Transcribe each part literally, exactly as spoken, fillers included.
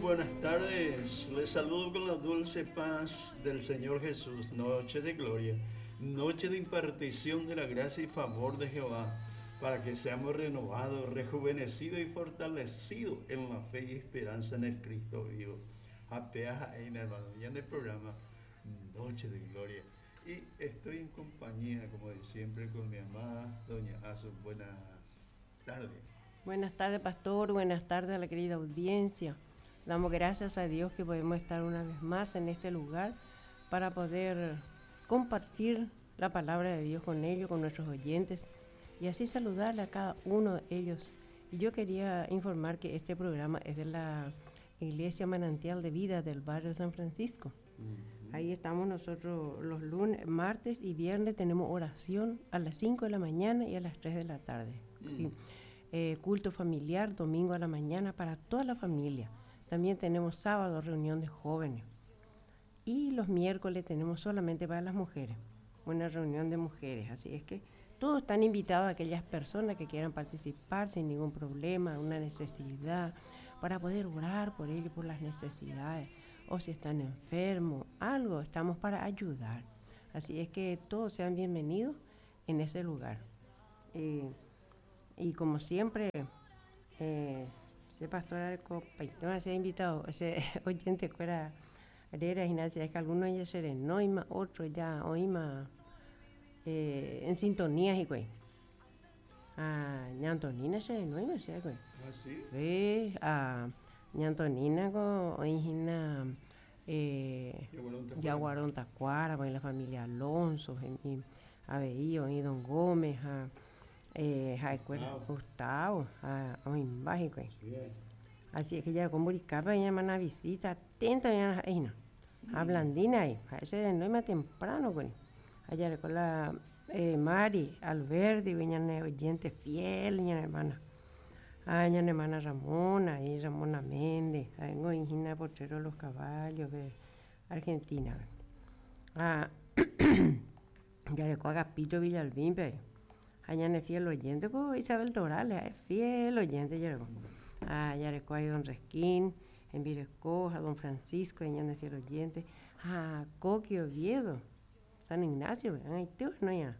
Buenas tardes. Les saludo con la dulce paz del Señor Jesús. Noche de gloria, noche de impartición de la gracia y favor de Jehová, para que seamos renovados, rejuvenecidos y fortalecidos en la fe y esperanza en el Cristo vivo. Apeaja en hermano, ya en el programa Noche de Gloria. Y estoy en compañía, como de siempre, con mi amada doña Azu. Buenas tardes. Buenas tardes, pastor. Buenas tardes a la querida audiencia. Damos gracias a Dios que podemos estar una vez más en este lugar para poder compartir la palabra de Dios con ellos, con nuestros oyentes, y así saludarle a cada uno de ellos. Y yo quería informar que este programa es de la Iglesia Manantial de Vida del barrio San Francisco. Uh-huh. Ahí estamos nosotros los lunes, martes y viernes tenemos oración a las cinco de la mañana y a las tres de la tarde. Uh-huh. Y, eh, culto familiar domingo a la mañana para toda la familia. También tenemos sábado reunión de jóvenes. Y los miércoles tenemos solamente para las mujeres, una reunión de mujeres. Así es que todos están invitados, aquellas personas que quieran participar sin ningún problema, una necesidad, para poder orar por ellos, por las necesidades, o si están enfermos, algo, estamos para ayudar. Así es que todos sean bienvenidos en ese lugar. Eh, y como siempre, eh, ese pastor Arco, ese invitado, ese oyente que era Herrera Ignacia, es que algunos ya se renoima, otros ya oima eh, en sintonía y güey. Ah, ña Antonina se renoima, sí, güey. Ah, sí. Sí, ah, ña Antonina con oigina eh, Yaguarón Tacuara, con la familia Alonso, y Aveío, y Don Gómez, a eh, a Gustavo, a Oimba, güey. Así es que ya con Buricapa, ella una visita atenta, ya no, a Blandina ahí, a ese de no más temprano, güey. Allá con la eh, Mari Alberdi, ña oyente fiel, ña hermana. A ña hermana Ramona, y Ramona Méndez, a Ingina Potrero Los Caballos de Argentina. Ah, ya le Agapito Villalbín, pero allá es fiel oyente con Isabel Torales, es fiel oyente, ya Ah, ya le a don Resquín, en Viresco, a don Francisco, allá es fiel oyente. Ah, Coqui Oviedo, San Ignacio, ahí no ya.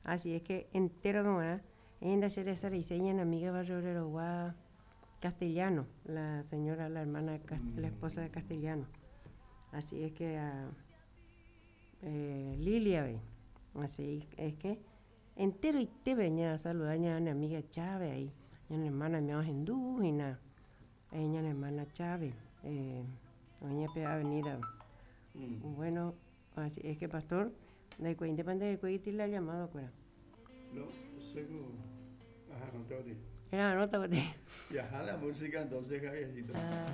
Así es que entero como era, en la Cereza en amiga Barrio Obrero Castellano, la señora, la hermana, la esposa de Castellano. Así es que uh, eh, Lilia, ve. Así es que entero y te venía a saludar a mi amiga Chávez ahí, a mi hermana mi hindú y na, a mi hermana Chávez, eh, doña P. Avenida. Mm. Bueno, así es que pastor, de cuenta de cuenta le ha llamado acuera. No, seguro. Ajá, no te oí. Era, no te oí. Y ajá la música entonces, Javiercito. Ah.